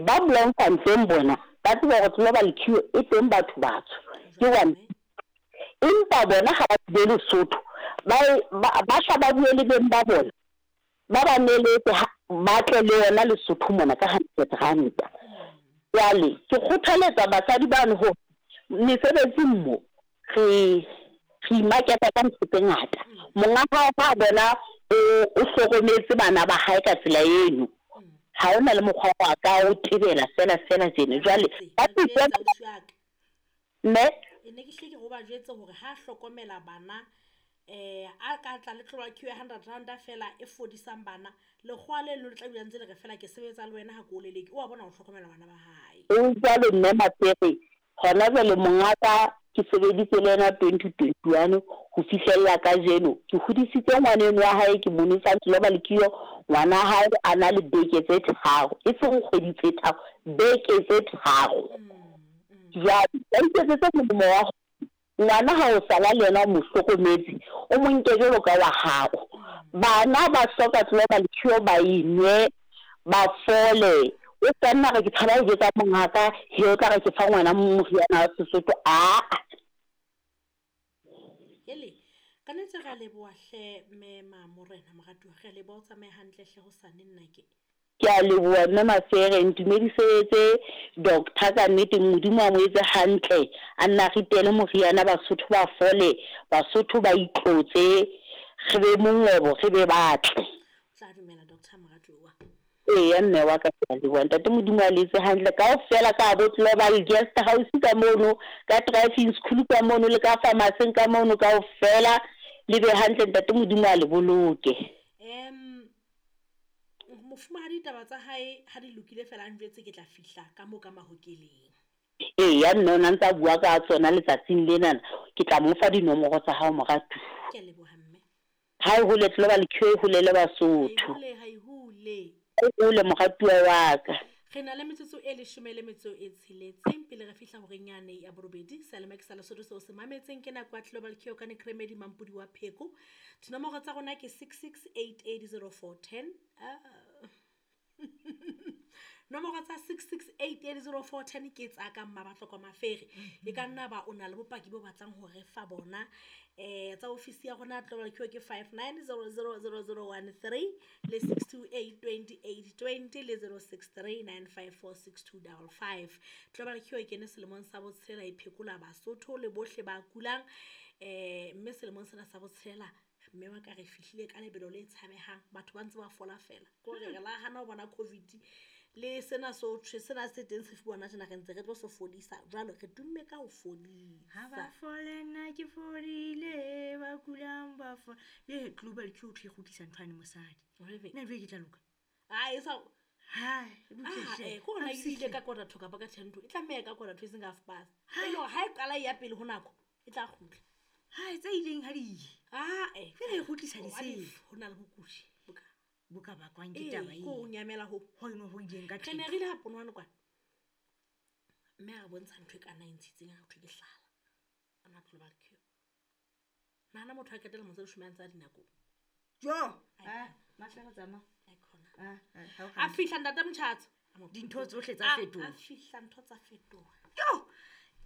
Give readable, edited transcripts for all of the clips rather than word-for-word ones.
Ba Bloemfontein bona ba tseba hore global cure e teng batho batsho ke one, empa bona ha ba tlile Lesotho ba ba hla ba bue le beng ba bona ba ba neletse ba tle le yona Lesotho mona ka hundred ranta. Jwale ke kgothaletsa basadi bano hore mesebetsing mo re re imaketa ka ntho tse ngata. Monga hao ha bona o o hlokometse bana ba hae ka tsela eno, ha hona le mokgwa wa ka o tebela fela fela tjena. Jwale ba mme e ne ke hle ke go ba jwetse hore ha hlokomela bana a ka tla le tloba queue ya 100 rand fela e fodisang bana, lekgowa le leno le tla dula ntse le re fela ke sebetsa le wena ha ke o leleke, o a bona ho hlokomela bana ba hae. O jwalo mme Mafere, hona jwale mongaka ke sebeditse le yena 2021 ho fihlella kajeno. Ke hodisitse ngwaneno wa hae, ke mo nwesa global cure, ngwana hae a na le beke tse 3, e seng kgwedi tse 3, beke tse 3. Jwale ba iketsetse molemo wa ngwana ha o sala le yena o mo hlokometse, o mo nke jwalo ka wa hao. Bana ba hloka global cure ba e nwe, ba fole. O ka nna re ke tshaba ho jwetsa mongaka, he o tla re ke fa ngwana moriana wa Sesotho. Aa. Hele, ka nnete re a leboha hle mme Mamorena moratuwa, re a leboha o tsamaye hantle hle hosane nna ke. Ke a leboha mme Mafere, ntumedisetse doctor ka nnete, Modimo a mo etse hantle, a nna ritele moriana, Basotho ba fole, Basotho ba itlotse, re be mongobo, re be batle. O tla dumela doctor moratuwa. Eya mme wa ka, ke a leboha. Ntate Modimo a le etse hantle kaofela ka bo Global Guest House ka mono, ka driving school ka mono, le ka pharmacy ka mono kaofela, le be hantle, ntate Modimo a le boloke. Mofumahadi taba tsa hae ha di lokile fela a njwetse ke tla fihla ka moo ka mahokeleng. Eya mme o na ntsa bua ka tsona letsatsing lenana, ke tla mo fa dinomoro tsa hao moratuwa. Ke a leboha mme. Ha e hole Global Cure e holele Basotho. Ha e hole. E hole moratuwa wa ka. Re na le metsotso e 16 pele re fihla horeng yane ya borobedi. Seyalemoya ke sa Lesotho seo se mametseng ke nako ya Global Cure ka Nekremedi Mampudi wa Pheko. Dinomoro tsa rona ke 66880410. Nomoro tsa 66880410 ke tsa ka Mmabatloko Mafere. E ka nna ba o na le bopaki bo batlang ho re fa bona. Tsa ofisi ya rona Global Cure ke 59000013 le 6282820 le 0639546255. Global Cure e kene selemong sa botshelela e phekola Basotho le bohle ba kulang. Mme selemong sena sa botshelela mme wa ka re fihlile ka lebelo le tshabehang, batho ba ntse ba fola fela. Ke hore re la hana ho bona COVID le sena so thwe sena se teng se fuwa tjena re ntse re tlo se fodisa. Jwale re tumme ka ho fodisa. Ha ba fole nna ke fodile, ba kulang ba fola. Le Global Cure e kgutlisa ntho ane mosadi. Nna jwale ke tla loka. Ah, e sa Ha, e butle hle. Ko hona e ile ka quarter to kapa ka 10 to. E tlameha ka quarter to e seng ka half past. E le hore ha e qala e ya pele ho nako, e tla kgutla. Ha tse ileng ha di ye. Ah, Fela e kgutlisa disele. Ho na le bokudi boka. Boka bakwang ke taba e. Ko nyamela ho. Ho eno ho ileng ka Re ne re ile ha ponwane kwana. Mme a re bontsha ntho e ka na e ntshitseng ha thwe ke hlala. A na Global Cure. Nahana motho a qetela motse leshome a ntse a dinakong. Jo. Ah, Mafere tsamaya. Ai khona. A fihla ntate Motjhatso. Dintho tsohle tsa fetoha. A fihla ntho tsa fetoha. Jo.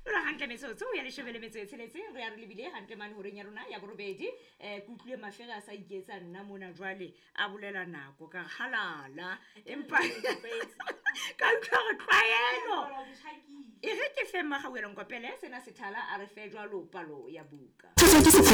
Jwale hantle metsotso ya 16, re ya re lebile hantle mane horeng ya rona ya borobedi. Ke utlwile Mafere a sa iketsa nna mona jwale a bolela nako ka halala, empa ka utlwa re tlwaelo. E re ke fe Mmagauwelo Nkopele sena sethala a re fe jwalo palo ya buka.